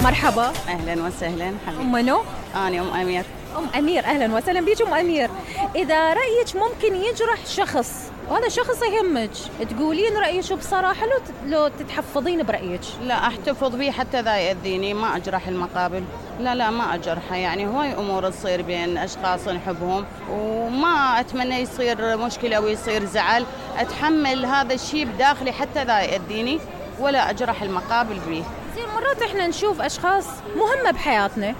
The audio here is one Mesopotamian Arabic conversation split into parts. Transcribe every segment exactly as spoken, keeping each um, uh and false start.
مرحبا. أهلا وسهلا حبيبي. أم منو؟ أنا أم أمير. أم أمير، أهلا وسهلا بيك أم أمير. إذا رأيك ممكن يجرح شخص وهذا شخص يهمك، تقولين رأيك بصراحة لو لو تتحفظين برأيك؟ لا أحتفظ به حتى ذا يأذيني، ما أجرح المقابل. لا لا ما أجرحه، يعني هواي أمور تصير بين أشخاص نحبهم وما أتمنى يصير مشكلة ويصير زعل. أتحمل هذا الشيء بداخلي حتى ذا يأذيني ولا أجرح المقابل به. زين مرات إحنا نشوف أشخاص مهمة بحياتنا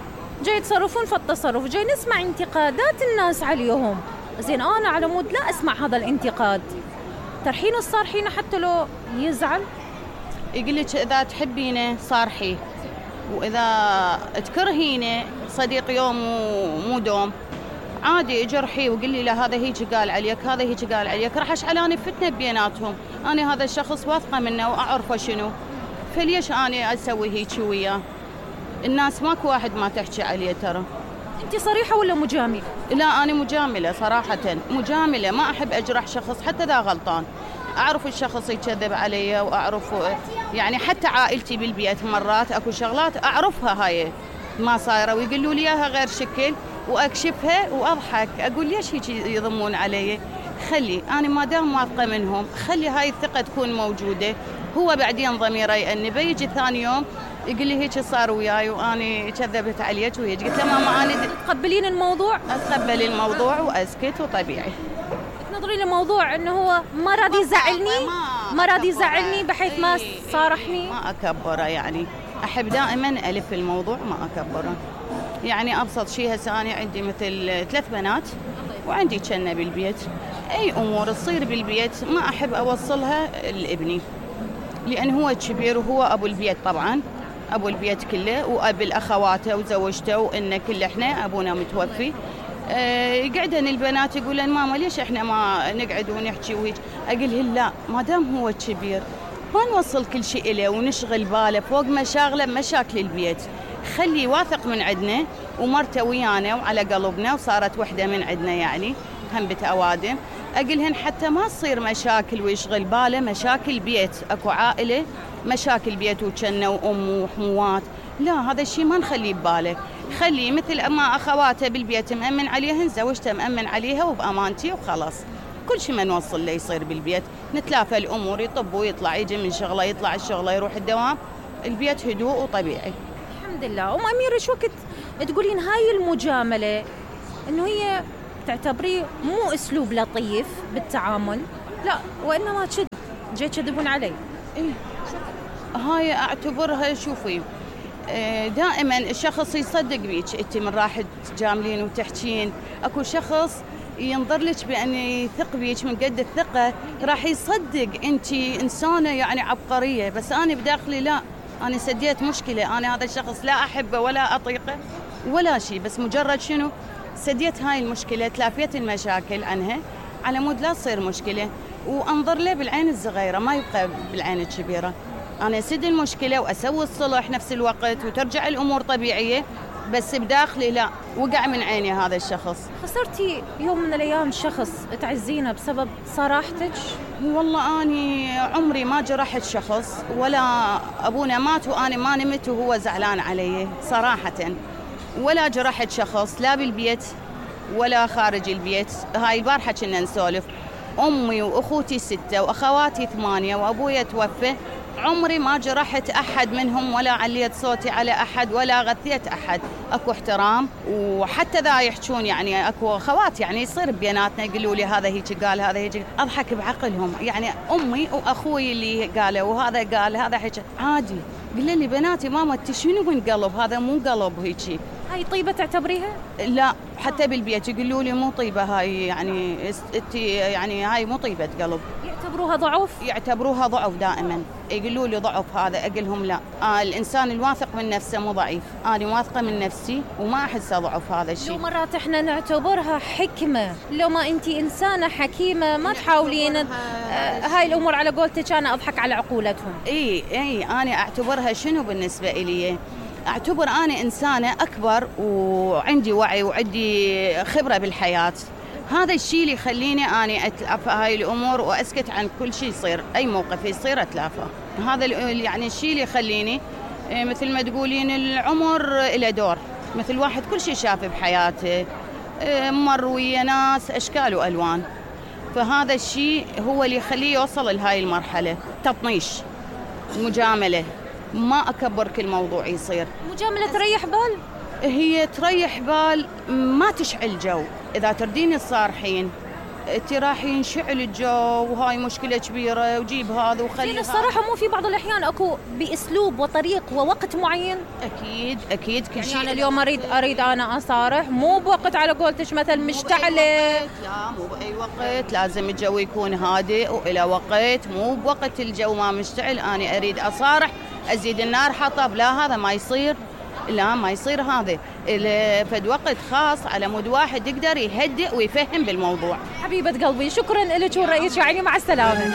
جاي يتصرفون في التصرف، جاي نسمع انتقادات الناس عليهم. زين أنا على مود لا أسمع هذا الانتقاد، ترحين الصارحين حتى لو يزعل. يقول لك إذا تحبينه صارحيه، وإذا تكرهينه صديق يوم ومو دوم عادي اجرحيه وقولي له هذا هيك قال عليك، هذا هيك قال عليك، راح اشعلاني فتنة بيناتهم. أنا هذا الشخص واثقة منه وأعرفه شنو، فليش أنا أسوي هيك وياه؟ الناس ماكو واحد ما تحكي عليه ترى. أنت صريحة ولا مجاملة؟ لا أنا مجاملة صراحة، مجاملة، ما أحب أجرح شخص حتى ذا غلطان. أعرف الشخص يكذب علي وأعرف يعني حتى عائلتي بالبيت مرات أكو شغلات أعرفها هاي ما صايرة ويقولوا لي إياها غير شكل وأكشفها وأضحك أقول ليش هيك يضمون علي؟ خلي أنا ما دام واثقة منهم خلي هاي الثقة تكون موجودة. هو بعدين ضميره يأنبه يجي ثاني يوم يقول لي هيك صار وياي وأنا كذبت عليك وهيك. قلت له ماما أنا تقبلين الموضوع؟ أتقبل الموضوع وأسكت وطبيعي. تنظرين الموضوع إنه هو ما راضي يزعلني، ما راضي يزعلني بحيث ما صارحني. ما أكبره، يعني أحب دائما ألف الموضوع ما أكبره. يعني أبسط شيء هسه أنا عندي مثل ثلاث بنات وعندي كنة بالبيت، أي أمور تصير بالبيت ما أحب أوصلها لابني لأن هو كبير وهو أبو البيت طبعا، أبو البيت كله وأب الأخواته وزوجته وإن كل إحنا أبونا متوفي. أه يقعدن البنات يقولن ماما ليش إحنا ما نقعد ونحكي وهيك؟ أقولهن لا، ما دام هو كبير ما نوصل كل شيء إليه ونشغل باله فوق مشاغله مشاكل البيت. خلي واثق من عندنا ومرته ويانا وعلى قلبنا وصارت وحدة من عندنا يعني هم بتأوادم. أقولهن حتى ما تصير مشاكل ويشغل باله مشاكل بيت، أكو عائلة مشاكل بيت وكنة وأم وحموات، لا هذا الشيء ما نخليه بباله. خليه مثل ما أخواته بالبيت مأمن عليهن، زوجته مأمن عليها وبأمانتي وخلاص. كل شيء ما نوصل له يصير بالبيت، نتلافى الأمور، يطب ويطلع، يجي من شغله يطلع الشغله يروح الدوام، البيت هدوء وطبيعي. الحمد لله. أم أمير إيش وقت تقولين هاي المجاملة إنه هي تعتبريه مو أسلوب لطيف بالتعامل، لا وإنما كذب، جاي تكذبون علي؟ إيه هاي أعتبرها شوفي دائما الشخص يصدق بيك انت من راح تجاملين وتحكين. اكو شخص ينظر لك بأن يثق بيك من قد الثقة راح يصدق انت إنسانة يعني عبقرية، بس أنا بداخلي لا، أنا سديت مشكلة، أنا هذا الشخص لا أحبه ولا أطيقه ولا شيء، بس مجرد شنو سديت هاي المشكلة، تلافيت المشاكل عنها على مود لا تصير مشكلة وأنظر له بالعين الصغيرة ما يبقى بالعين الكبيرة. أنا أسد المشكلة وأسوي الصلح نفس الوقت وترجع الأمور طبيعية، بس بداخلي لا، وقع من عيني هذا الشخص. خسرتي يوم من الأيام شخص تعزينه بسبب صراحتك؟ والله أني عمري ما جرحت شخص، ولا أبونا مات وأنا ما نمت وهو زعلان علي صراحة، ولا جرحت شخص لا بالبيت ولا خارج البيت. هاي البارحة كنا نسولف، أمي وأخوتي ستة وأخواتي ثمانية وأبويا توفى، عمري ما جرحت أحد منهم ولا عليت صوتي على أحد ولا غثيت أحد. أكو احترام، وحتى ذا يحجون يعني أكو أخوات يعني يصير بيناتنا يقولوا لي هذا هيك قال هذا هيك، أضحك بعقلهم يعني أمي وأخوي اللي قالوا وهذا قال هذا هيك عادي. قل لي بناتي ماما انت شنو من قلب، هذا مو قلب هيك. هاي طيبة تعتبريها؟ لا حتى بالبيت يقولوا لي مو طيبة هاي، يعني انت يعني هاي مو طيبة قلب. يعتبروها ضعف؟ يعتبروها ضعف دائما، يقولوا لي ضعف هذا، أقولهم لا، آه الإنسان الواثق من نفسه مو ضعيف، أنا واثقة من نفسي وما أحسه ضعف هذا الشيء. لو مرات إحنا نعتبرها حكمة، لو ما أنت إنسانة حكيمة ما تحاولين آه هاي الأمور على قولتك أنا أضحك على عقولتهم. إي إي أنا أعتبرها شنو بالنسبة إلي، أعتبر أنا إنسانة أكبر وعندي وعي وعندي خبرة بالحياة، هذا الشيء اللي يخليني أنا أتلافى هاي الأمور وأسكت عن كل شيء يصير، أي موقف يصير أتلافى. هذا يعني الشيء اللي يخليني إيه مثل ما تقولين العمر له دور، مثل واحد كل شيء شافه بحياته، إيه مر ويا ناس أشكال وألوان، فهذا الشيء هو اللي يخليه يوصل لهاي المرحلة. تطنيش، مجاملة، ما أكبر كل موضوع يصير. مجاملة تريح بال؟ هي تريح بال، ما تشعل جو. إذا تردين الصارحين انت راح ينشعل الجو وهاي مشكلة كبيرة وجيب هذا وخلي هذا. الصراحة مو في بعض الأحيان أكو بأسلوب وطريق ووقت معين؟ أكيد أكيد كل يعني شيء. أنا اليوم أريد أريد أنا أصارح، مو بوقت على قولتش مثلا مشتعلة. لا مو بأي وقت، لازم الجو يكون هادئ وإلى وقت، مو بوقت الجو ما مشتعل أنا أريد أصارح أزيد النار حطب، لا هذا ما يصير، لا ما يصير هذا. فد وقت خاص على مود واحد يقدر يهدئ ويفهم بالموضوع. حبيبة قلبي شكرا لك ورأيك، يعني مع السلامة.